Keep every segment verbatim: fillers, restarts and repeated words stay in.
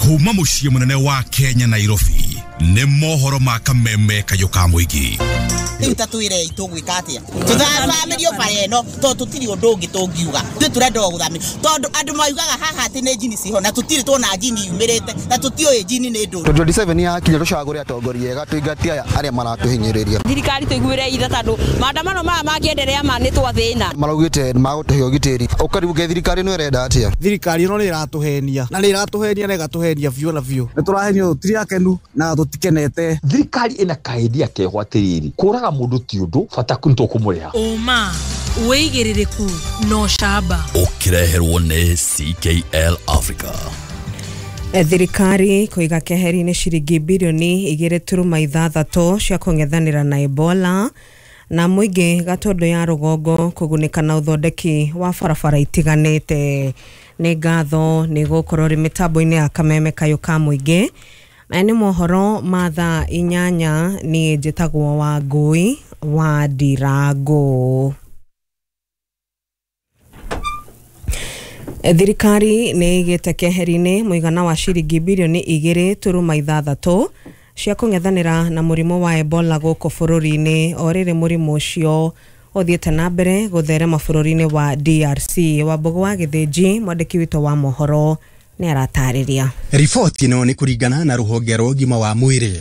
Kuma mũciĩ mũnene wa Kenya Nairobi nĩ mohoro ma kameme kayũ ka mũingĩ. Rĩu ta twĩrei tũgwĩka atĩa? Tũthamĩrio bara ĩno tondũ tũtirĩ ũndũ ũngĩ tũngiuga. Ithuĩ tũrenda o gũthamĩrio tondũ andũ maugaga haha atĩ nĩ njini ciho na tũtirĩ tuona njini yumĩrĩte na tũtiũĩ njini nĩ ndũ. twenty twenty-seven yakinya tũcagũre atongoria ega tũingatie aya arĩa maratũhinyĩrĩria. Thirikari tũiguĩre itha tondũ maandamano maya mangĩenderea ma nĩ twathĩna. Maraugĩte nĩmagũtũhe ũgitĩri. Ũkaribuke thirikari ĩno ĩrenda atĩa? Thirikari ĩno nĩ ĩratũhenia na nĩ ĩratũhenia na ĩgatũhenia biũ na biũ. Nĩ tũrahenio tũtirĩ akenu na tũtikenete. Thirikari ĩna kaendia keho atĩrĩrĩ, kũraga mũndũ ti ũndũ bata nĩtũkũmũrĩha. Ũma wĩigĩrĩrĩku no camba. Ũkĩreherwo nĩ C K L Africa. Thirikari kũiga keheri-inĩ ciringi birioni igĩrĩ turuma ithathatũ cia kũng'ethanĩra na Ebola na mũingĩ Gatondo ya rũgongo kũgunĩka na ũthondeki wa barabara itiganĩte. Nĩ ngatho nĩ gũkorwo rĩ mĩtambo-inĩ ya kameme kayũ ka mũingĩ. Maya nĩ mohoro ma thaa inyanya. Niĩ njĩtagwo Wangũi wa Ndirango. Thirikari nĩ ĩgĩte keheri-inĩ mũigana wa ciringi birioni igĩrĩ turuma ithathatũ cia kũng'ethanĩra na mũrimũ wa Ebola gũkũ bũrũri-inĩ o rĩrĩ mũrimũ ũcio ũthiĩte na mbere gũtherema bũrũri-inĩ wa D R C. Wambũgũ wa Gĩthĩnji, mwandĩki witũ wa mohoro, nĩ aratarĩria. Riboti ĩno nĩ kũringana na rũhonge rwa ũgima wa mwĩrĩ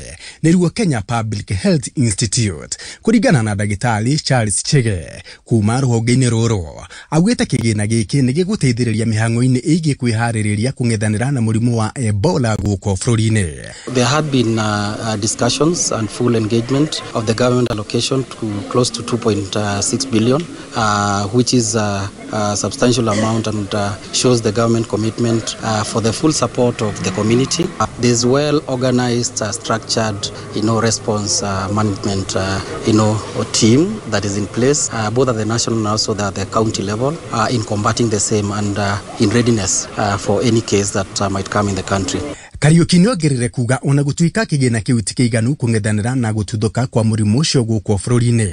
nĩruo Kenya Public Health Institute. Kũringana na ndagĩtarĩ Charles Chege kuma rũhonge-inĩ rũrũ, augĩte kĩgĩna gĩkĩ nĩ gĩgũteithĩrĩria mĩhang'o-inĩ ĩgiĩ kwĩharĩrĩria kũng'ethanĩra na mũrimũ wa Ebola gũkũ bũrũri-inĩ. There had been uh, uh, discussions and full engagement of the government allocation to close to two point six billion, uh, which is a, a substantial amount and uh, shows the government commitment uh, for the full support of the community. Uh, there's well organized, uh, structured, you know, response uh, management, uh, you know, team that is in place, uh, both at the national and also at the county level, uh, in combating the same and uh, in readiness uh, for any case that uh, might come in the country. Kariuki nĩongerere kuga ona gũtuĩka kĩgĩna kĩu ti kĩiganu kũng'ethanĩra na gũtuthũka kwa mũrimũ ũcio gũkũ bũrũri-inĩ,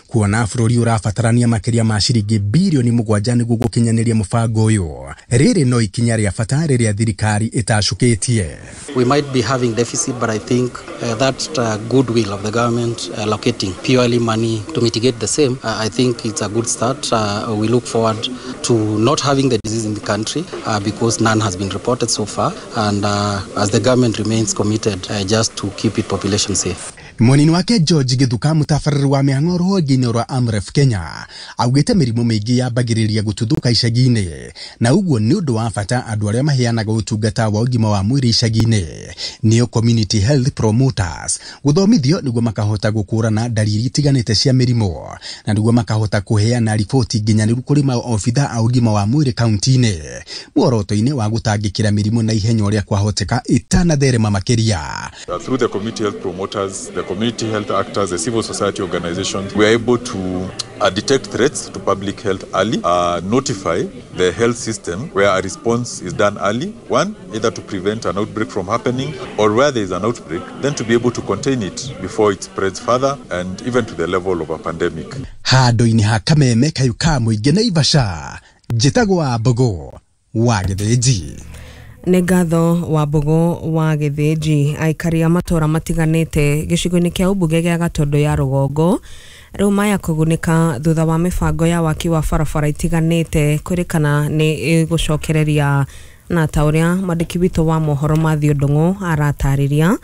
kuona bũrũri ũrabatarania makĩria ma ciringi birioni mũgwanja nĩguo gũkinyanĩria mũbango ũyũ. Rĩrĩ no ikinya rĩa bata rĩrĩa thirikari ĩtacũkĩtie. We might be having deficit, but I think uh, that uh, goodwill of the government allocating purely money to mitigate the same, uh, I think it's a good start. Uh, we look forward to not having the disease in the country uh, because none has been reported so far, and uh, as the government remains committed uh, just to keep its population safe. Mwanini wake George Githuka, mũtabarĩri wa mĩhang'o rũhonge-inĩ rwa Amref Kenya, augĩte mĩrimũ mĩingĩ yambagĩrĩria gũtuthũka icagi-inĩ na ũguo nĩ ũndũ wa bata andũ arĩa maheanaga ũtungata wa ũgima wa mwĩrĩ icagi-inĩ nĩo community health promoters gũthomithio nĩguo makahota gũkũrana ndariri itiganĩte cia mĩrimũ na nĩguo makahota kũheana riboti nginyanĩru kũrĩ maobitha a ũgima wa mwĩrĩ kaunti-inĩ muoroto-inĩ wa gũtangĩkĩra mĩrimũ na ihenya ũrĩa kwahoteka ĩtanatherema makĩria. Through the community health promoters, the community health actors, the civil society organizations, we are able to uh, detect threats to public health early, uh, notify the health system where a response is done early, one, either to prevent an outbreak from happening, or where there is an outbreak, then to be able to contain it before it spreads further and even to the level of a pandemic. Handũ-inĩ ha kameme kayũ ka mũingĩ Naivasha, njĩtagwo Wambũgũ wa Gĩthĩnji. Nĩ ngatho Wambũgũ wa Gĩthĩnji. Aikari a matũra matiganĩte gĩcigo-inĩ kĩa ũmbunge gĩa Gatondo ya rũgongo rĩu maya kũgunĩka thutha wa mĩbango ya waki wa barabara itiganĩte kwĩrĩkana nĩ ĩgũcokereria, na ta ũrĩa mwandĩki witũ wa mohoro Mathew Ndung'u aratarĩria.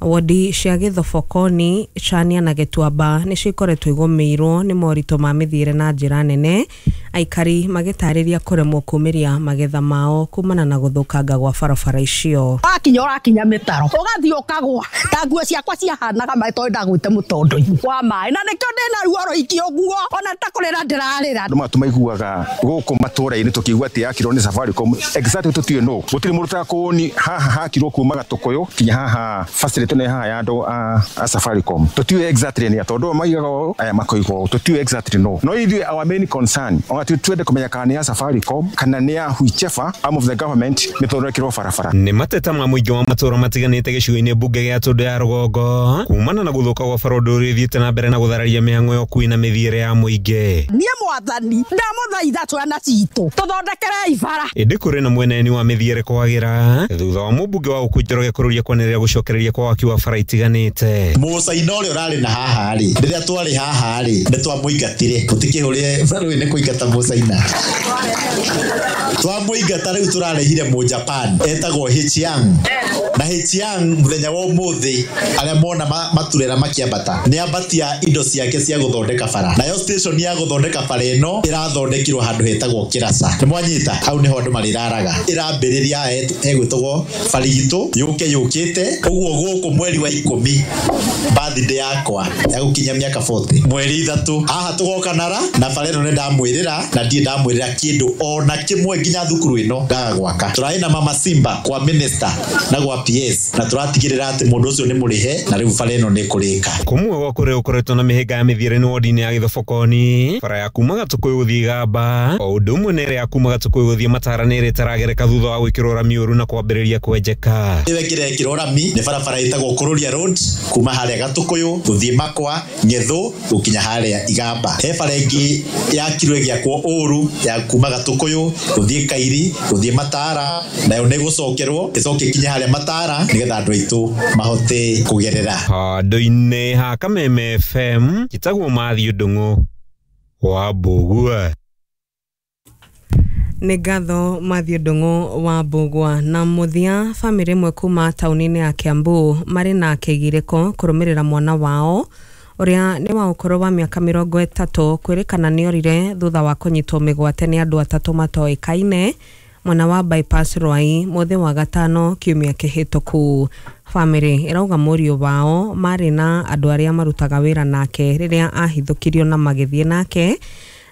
Wodi cia Gĩthobokoni, Chania na Gĩtuamba nĩcio ikoretwo igũmĩirwo nĩ moritũ ma mĩthiĩre na njĩra nene, aikari magĩtarĩria kũremwo kumĩria magetha mao kumana na gũthũkanga gwa barabara icio. Wakinya ũrakinya mĩtaro ũgathiĩ ũkagwa ta nguo ciakwa ciahanaga maĩ tondũ ndagwĩte mũtondo-inĩ wa maĩ, na nĩkĩo ndĩna ruo rũingĩ ũguo ona ta kũrĩra ndĩrarĩra. Andũ maya tũmaiguaga gũkũ matũra-inĩ tũkĩigua atĩ yakirwo nĩ Safaricom, exactly tũtiũĩ nũ, gũtirĩ mũndũ ũtakũni haha hakirwo kuma Gatũkũyũ kinya haha facility ĩtwĩrĩtwo nĩ haha ya andũ a a Safaricom. Tũtiũĩ exactly nĩ tondũ maigaga ũũ, aya makoiga ũũ, tũtiũĩ exactly no. No ithuĩ our main concern ona twende kũmenya kana nĩ ya Safaricom kana nĩ ya whichever arm of the government nĩ thondekirwo barabara. Nĩ mateta ma mũingĩ wa matũũra matiganĩte gĩcigo-inĩ mbunge gĩa Tũndũ ya Rũgongo kumana na gũthũka gwa bara ũndũ ũrĩa ũthiĩte na mbere na gũthararia mĩhang'o ya ũkui na mĩthiĩre ya mũingĩ. Niĩ mwathani ndamũthaitha twana citũ tũthondekerei bara. Ĩndĩ kũrĩ na mweneni wa mĩthiĩre kwagĩra thutha wa mũmbunge wa Ũkũ Njoroge kũrũria kwanĩrĩra gũcokereria kwa waki wa bara itiganĩte. Mũcaina ũrĩa ũrarĩ na haha rĩ, rĩrĩa twarĩ haha rĩ, nĩ twamũingatire. Tũtikĩhũrĩre barũĩ nĩ kũingata mũcaina. Twamũingata rĩu tũrarehire mũ Japan etagwo Hichiang. Na Hichiang mũthenya wa ũmũthĩ arĩa mona maturera makĩambata nĩ ambatia indo ciake cia gũthondeka bara. Nayo station ya gũthondeka bara ĩno ĩrathondekirwo handũ hetagwo Kĩraca. Nĩ mwanyita hau nĩho andũ marĩraraga. Ĩrambĩrĩria hegwĩtagwo Barigitũ yũke yũkĩte ũguo gũkũ mweri wa ikũmi birthday yakwa ya gũkinyia mĩaka forty mweri ithatũ haha tũgoka nara na bara ĩno nĩ ndamwĩrĩra na ndirĩ ndamwĩrĩra kĩndũ ona kĩmwe nginya thukuru ĩno ngaga gwaka. Tũrarĩ na Mama Simba kwa minister na gwa P S na tũratigĩrĩra atĩ mũndũ ũcio nĩ mũrĩhe na rĩu bara ĩno nĩ ĩkũrĩka. Kũmwe gwa kũrĩa gũkoretwo na mĩhĩnga ya mĩthiĩre nĩ wodi-inĩ ya Gĩthobokoni, bara ya kuma Gatũkũyũ gũthiĩ Gamba o ũndũ ũmwe na ĩrĩa ya kuma Gatũkũyũ gũthiĩ Matara nĩ ĩrĩa ĩtaragereka thutha wa gwĩkĩrwo rami ũru na kwambĩrĩria kwenjeka. Ĩyo ĩngĩ rami nĩ barabara ĩtagwo Kũrũria Road kuma harĩa Gatũkũyũ gũthiĩ Makwa Ng'ethũ gũkinya harĩa Igamba. He bara ĩngĩ yakirwo ĩgĩakwo ũru ya kuma Gatũkũyũ gũthiĩ Kairi gũthiĩ Matara nayo nĩ gũcokerwo ĩcoke ĩkinye harĩa Matara nĩgetha andũ aitũ mahote kũgerera. Handũ-inĩ ha Kameme F M njĩtagwo Matthew Ndung'u wa Mbũgua. Nĩ ngatho Matthew Ndung'u wa Mbũgua. Na mũthia, bamĩrĩ ĩmwe kuma taũni-inĩ ya Kiambu marĩ na kĩgirĩko kũrũmĩrĩra mwana wao ũrĩa nĩ wa ũkũrũ wa mĩaka mĩrongo ĩtatũ kwĩrĩkana nĩorire thutha wa kũnyitwo mĩgwate nĩ andũ atatũ matoĩkaine mwena wa Bypass Ruai mũthĩ wa gatano kiumia kĩhĩtũku. Bamĩrĩ ĩrauga mũriũ wao marĩ na andũ arĩa marutaga wĩra nake rĩrĩa ahithũkirio na magĩthiĩ nake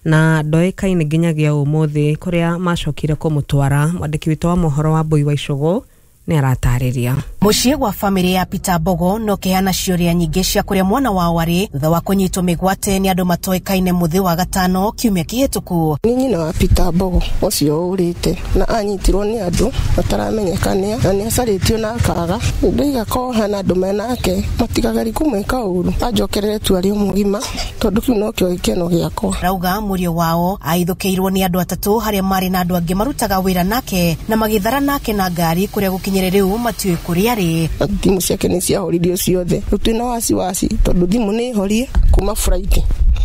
na ndoĩkaine nginyagia ũmũthĩ kũrĩa macokire kũmũtwara. Mwandĩki witũ wa mohoro wa Mbui wa Icũgũ nĩ aratarĩria. Mũciĩ gwa bamĩrĩ ya Peter Mbogo no kĩheana ciũria nyingĩ cia kũrĩa mwana wao arĩ thutha wa kũnyitwo mĩgwate nĩ andũ matoĩkaine mũthĩ wa gatano kiumia kĩhĩtũku. Nĩ nyina wa Peter Mbogo ũcio ũrĩte na anyitirwo nĩ andũ mataramenyekana na nĩ acarĩtio na akaga. Ndaiga ko hena andũ menake matigageri kũmwĩka ũru anjokerere tu arĩ mũgima tondũ kĩu nokĩo gĩkeno gĩakwa. Rauga mũriũ wao aithũkĩirwo nĩ andũ atatũ harĩa marĩ na andũ angĩ marutaga wĩra nake na magĩthara nake na ngari kũrĩa gũkinyĩre rĩu matiũĩ kũrĩa arĩ. Thimũ ciake nĩ ciahoririo ciothe rĩu twĩna wasiwasi tondũ thimũ nĩ horie kuma Friday.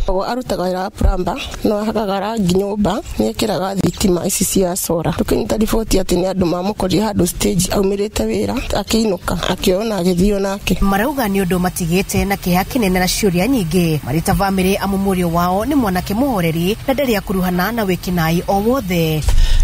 Ogo arutaga wĩra wa plumber no ahakaga rangi nyũmba nĩ ekĩraga thitima ici cia sora. Tũkĩnyita riboti atĩ nĩ andũ mamũkorire handũ stage aumĩrĩte wĩra akĩinũka akĩona agĩthio nake. Marauga nĩ ũndũ matigĩte na kĩeha kĩnene na ciũria nyingĩ marĩ ta bamĩrĩ amu mũriũ wao nĩ mwanake mũhoreri na ndarĩ akuruhana na wĩkinaĩ o wothe.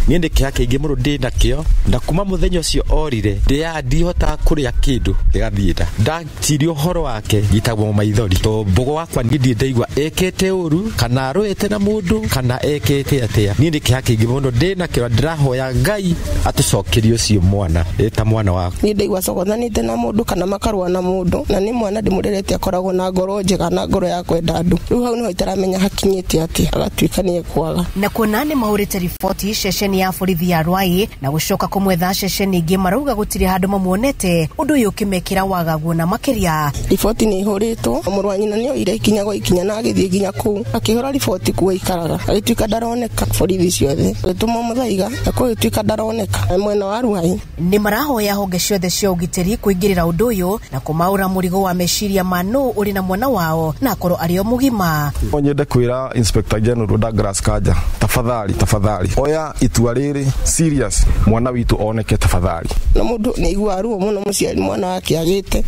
Niĩ nĩ kĩeha kĩingĩ mũno ndĩ nakĩo na kuma mũthenya ũcio orire ndĩa ndihotaga kũrĩa kĩndũ gĩgathiĩ nda ndaciria ũhoro wake ngitagwo maithori to Mbogo wakwa niĩ ndirĩ ndaigua ekĩte ũru kana arũĩte na mũndũ kana ekĩte atĩa. Niĩ nĩ kĩeha kĩingĩ mũno ndĩ nakĩo ndĩrahoya Ngai atũcokerie ũcio mwana ta mwana wakwa. Niĩ ndaigua cogothanĩte na mũndũ kana makarũa na mũndũ na nĩ mwana ndĩmũrerete akoragwo na ngoro njega na ngoro ya kwenda andũ. Rĩu hau nĩho itaramenya hakinyĩte atĩa agatuĩka nĩ ekwaga. Na kuona nĩ mahũrĩte riboti ceceni ya borithi ya Ruai na gũcoka kũmwetha ceceni ingĩ marauga gũtirĩ handũ mamuonete ũndũ ũyũ ũkĩmekĩra wagagu na makĩria. Riboti nĩ ihũrĩtwo mũrũ wa nyina nĩ oire ikinya gwa ikinya na agĩthiĩ nginya kũu akĩhũra riboti kuo aikaraga agĩtuĩka ndaroneka borithi ciothe agĩtũmwo Mũthaiga na kũgĩtuĩka ndaroneka mwena wa Ruai. Nĩ marahoya honge ciothe cia ũgitĩri kũingĩrĩra ũndũ ũyũ na kũmaũra mũrigo wa meciria ma nũ ũrĩ na mwana wao na akorwo arĩ o mũgima. No nyende kwĩra Inspector General Douglas Kanja tafadhali tafadhali oya itua rĩrĩ serious mwana witũ oneke tafadhali. Na mũndũ nĩ aiguaga ruo mũno mũciari mwana wake agĩte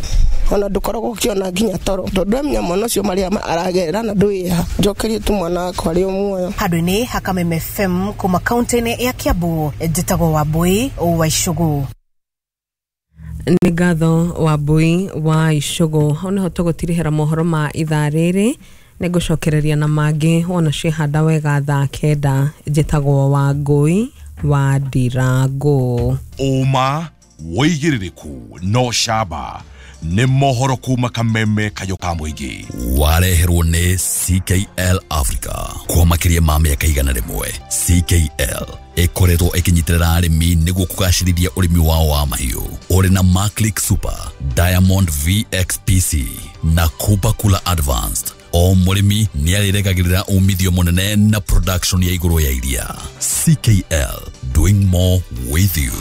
ona ndũkoragwo ũkĩona nginya toro tondũ amenya mwana ũcio marĩa aragerera na ndwĩha njokerie tu mwana wakwa arĩ o muoyo. Handũ-inĩ ha Kameme F M kuma kaunti-inĩ ya Kiambu njĩtagwo Wambui wa Icũgũ. Nĩ ngatho Wambui wa Icũgũ. Hau nĩho tũgũtirihĩra mohoro ma ithaa rĩrĩ nĩ ngũcokereria na mangĩ wona ciĩhanda wega thaa kenda. Njĩtagwo Wangũi wa Ndirango. Ũma wĩigĩrĩrĩku no camba. Nĩ mohoro kuma kameme kayũ ka mũingĩ. Wareherwo nĩ C K L Africa kwa makĩria ma mĩaka igana rĩmwe. C K L ĩkoretwo ĩkĩnyitĩrĩra arĩmi nĩguo kũgacĩrithia ũrĩmi wao wa mahiũ. Ũrĩ na Maclick Super, Diamond V X P C na Kupa Kula Advanced. O mũrĩmi nĩarĩrekagĩrĩra umithio mũnene na production ya igũrũ ya iria. C K L, doing more with you.